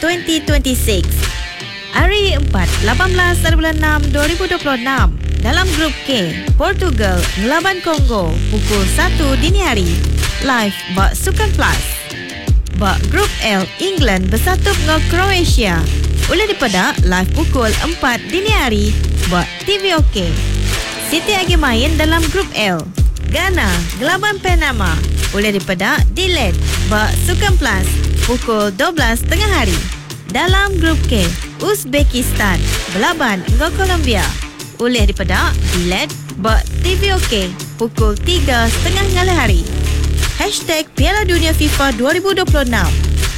2026. Hari Empat, 18 ari bulan enam 2026, dalam Grup K, Portugal ngelaban Congo pukul satu dini hari, live ba Sukan Plus. Ba Grup L, England besatup enggau Croatia, ulih dipeda live pukul empat dini hari ba TVOK. Siti agi main dalam Grup L, Ghana ngelaban Panama, ulih dipeda di led ba Sukan Plus pukul 12 tengah hari. Dalam Grup K, Uzbekistan belaban enggau Colombia, ulih dipeda di led ba TVOK pukul tiga setengah ngalih hari. Hashtag Piala Dunia FIFA 2026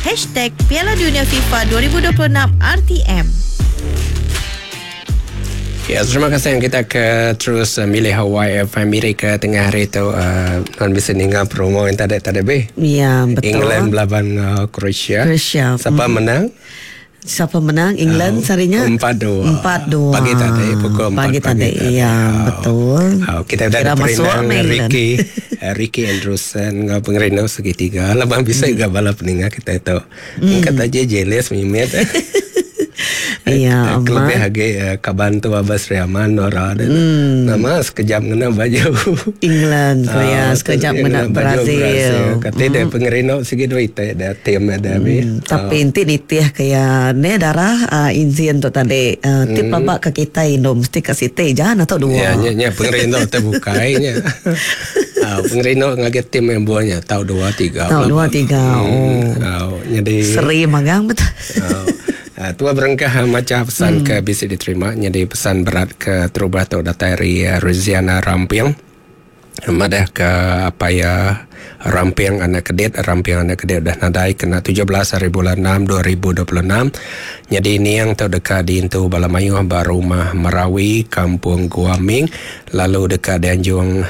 Hashtag Piala Dunia FIFA 2026 RTM. Ya, terima kasih yang kita ke terus uh, milih Hawaii FM Miri ke tengah hari tu uh, non bisa ninga promo yang tadi tadi be. Ya, betul. England melawan uh, Croatia. Croatia. Siapa menang? Siapa menang? England sarinya? 4-2. 4-2. Pagi tadi pukul 4 pagi tadi. Ya, betul. Oh, kita udah Kira masuk diperinang meh England. Ricky Ricky Andrewson ngau pengerino segitiga. Labang bisa juga bala peninga kita itu. Kata aja jealous mimit. Ya, Kelebih amat. lagi kaban tu Abbas Riaman Nora dan nama sekejap ngena baju. England tu ya, Ah, sekejap tu ngena baju Brazil. Kata dia pengerino segi duit ada tim ada hmm. Tapi inti nitih kaya ne darah uh, izin tu tadi uh, tip babak ke kita indo mesti ke siti jangan atau dua. Ya, nya nya pengerino terbukai nya. Ah, pengerino ngaget tim yang buahnya tahu dua tiga. Tahu dua tiga. Oh. Oh, jadi Seri magang betul. Oh. Tua berengkah macam pesan ke bisa diterima jadi pesan berat ke terubah tu datai dari Ruziana Ramping. Madah ke apa ya Ramping anak kedit Ramping anak kedit dah nadai kena 17 hari bulan 6 2026. Jadi ini yang tu dekat di intu Bala Mayuh ba rumah Merawi Kampung Guaming lalu dekat di Anjung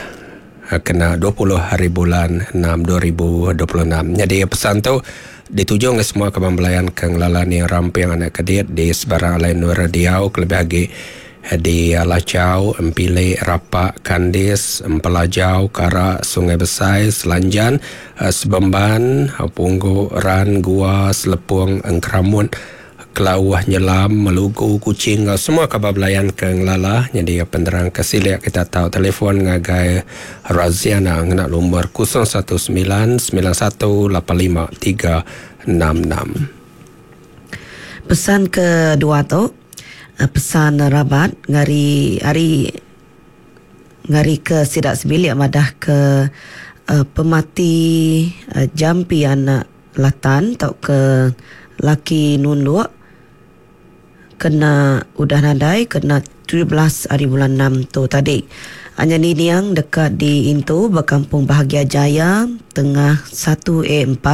kena 20 hari bulan 6 2026. Jadi pesan tu dituju ke semua kaban belayan ke ngelala ni Ramping anak kedit di sebarang lain nur diau kelebih lagi di Lacau, Empile, Rapak, Kandis, Empelajau, Karak, Sungai Besai, Selanjan, Sebemban, Punggu, Ran, Gua, Selepung, Engkeramun, Kelauh, Nyelam, Melugu, Kuching, semua kabar belayan ke ngelala. Jadi penerang ke siliak kita tahu telefon ngagai Raziana ngena lumur 019 9185 366. Pesan kedua tu pesan rabat ngari hari ngari ke sidak sebilik madah ke uh, pemati uh, jampi anak latan atau ke laki nunduk kena udah nadai kena 17 hari bulan 6 tu tadi. Hanya ni niang dekat di Intu berkampung Bahagia Jaya tengah 1A4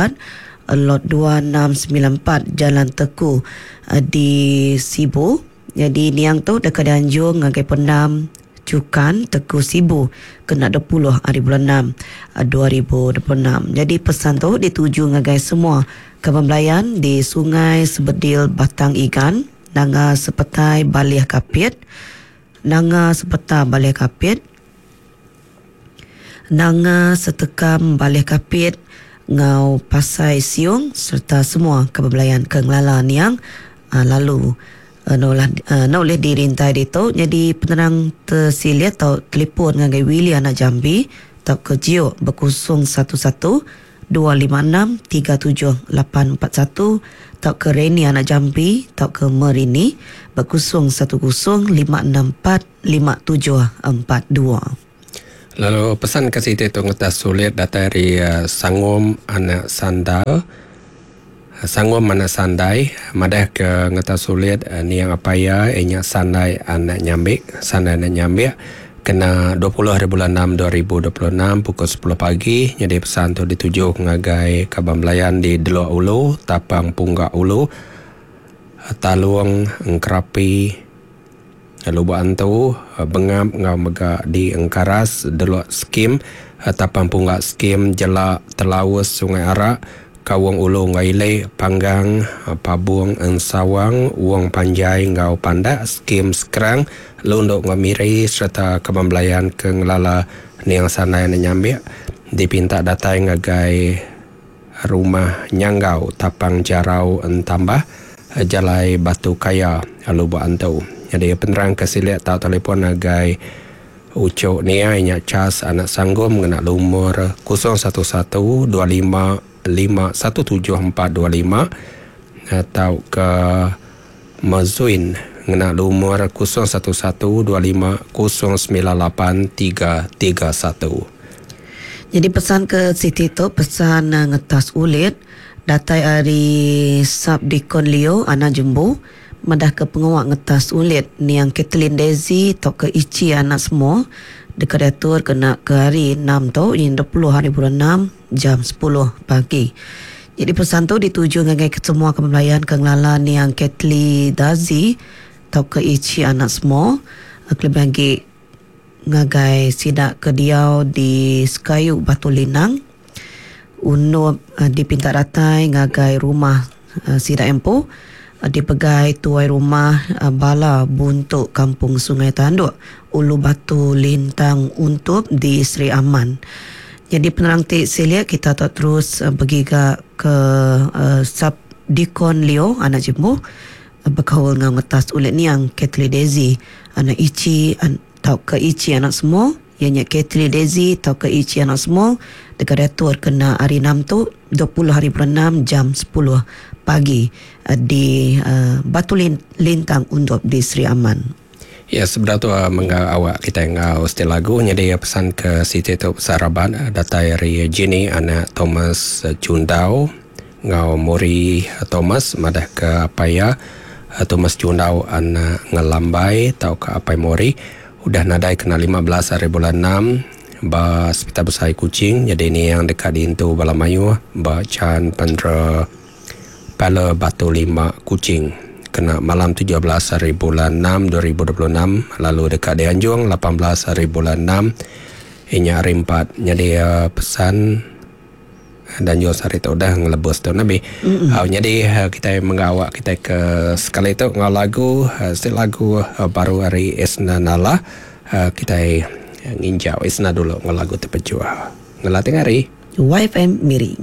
lot 2694 Jalan Teku di Sibu. Jadi niang tu dekat di Anjung ngagai Pendam Cukan Teku Sibu kena 20 hari bulan 6 2026. Jadi pesan tu dituju ngagai semua kaban belayan di Sungai Sebedil Batang Igan, Nanga Sepetai Balih Kapit, Nanga Sepeta Balih Kapit, Nanga Setekam Balih Kapit, Ngau Pasai Siung serta semua kaban belayan ke ngelala niang lalu noleh dirintai ditu. Jadi penerang tersilit atau telefon ngagai Willy anak Jambi atau ke Jio berkusung 11 256 37841 atau ke Reni anak Jambi atau ke Merini berkusung 10 564 5742. Lalu pesan ke situ tu ngetas sulit datang dari Sangum anak Sandal. Sangum anak Sandai madah ke ngetas sulit niang apa ya inya Sandai anak Nyambik, Sandai anak Nyambik kena 20 hari bulan 6 2026 pukul 10 pagi. Jadi pesan tu dituju ngagai kaban belayan di Delok Ulu, Tapang Punggak Ulu, Talung, Engkerapi, Lubuk Antu, Bengap ngau mega di Engkaras, Delok Skim, Tapang Punggak Skim, Jelak, Telaus, Sungai Arak, Kawang Ulu Ngaile, Panggang, Pabung, Ensawang, Uang Panjai ngau Pandak, Skim Sekerang, Lunduk ngau Miri serta kaban belayan ke ngelala niang Sanai anak Nyambik dipinta datai ngagai rumah Nyanggau, Tapang Jarau, Entambah. Jalai Batu Kaya, Lubok Antu. Nyadi penerang ke silik tau telefon ngagai Uchu Niai nya Charles anak Sanggum ngena lumur 011 25 517425 tauka Mazuin ngena lumur 011 25 098 331. Nyadi pesan ke siti tu pesan ngetas ulit datai ari Sub-Deacon Leo anak Jembu madah ke pengawa ngetas ulit niang Kathleen Daisy tauka Ichi anak Semua deka diatur kena ke hari enam tu nyin 20 hari bulan enam jam 10 pagi. Nyadi pesan tu dituju ngagai kesemua kaban belayan ke ngelala niang Kathleen Daisy tauka Ichi anak Semua kelebih agi ngagai sida ke diau di Sekayu Batu Linang Undup dipinta datai ngagai rumah sida empu dipegai tuai rumah bala Buntu Kampung Sungai Tanduk Ulu Batu Lintang Untup di Sri Aman. Nyadi penerang ti silik kita tau terus begiga ke Sub Deacon Leo anak Jembu bekaul enggau ngetas ulit niang Kathley Daisy anak Ichi tauka Ichi anak Semua. Iya nya Kathley Daisy tauka Ichi Anak Small deka diatur kena hari Enam tu, 20 hari bulan Enam jam 10 pagi di Batu Lintang Undop di Sri Aman. Ya sebedau tu mengga awak kitai enggau siti lagu nyadi pesan ke siti tu pesan raban datai ari Jenny anak Thomas Chundau enggau Mori Thomas madah ke apai iya Thomas Chundau anak Ngelambai tauka apai Mori Udah nadai kena 15 hari bulan enam ba Sepital Besai Kuching nyadi niang deka diintu bala mayuh ba Chan Pendra Pala Batu Lima Kuching kena malam 17 hari bulan enam 2026 lalu deka dianjung 18 hari bulan enam inya hari empat nyadi pesan Danjung sehari tu udah ngelebus tu nabi. Mm-hmm. Nyadi kitai mengga awak kitai ke sekali tu enggau lagu siti lagu baru ari Isna Nala kitai nginjau Isna dulu enggau lagu Tepejuh. Ngela tengah hari. YFM Miri.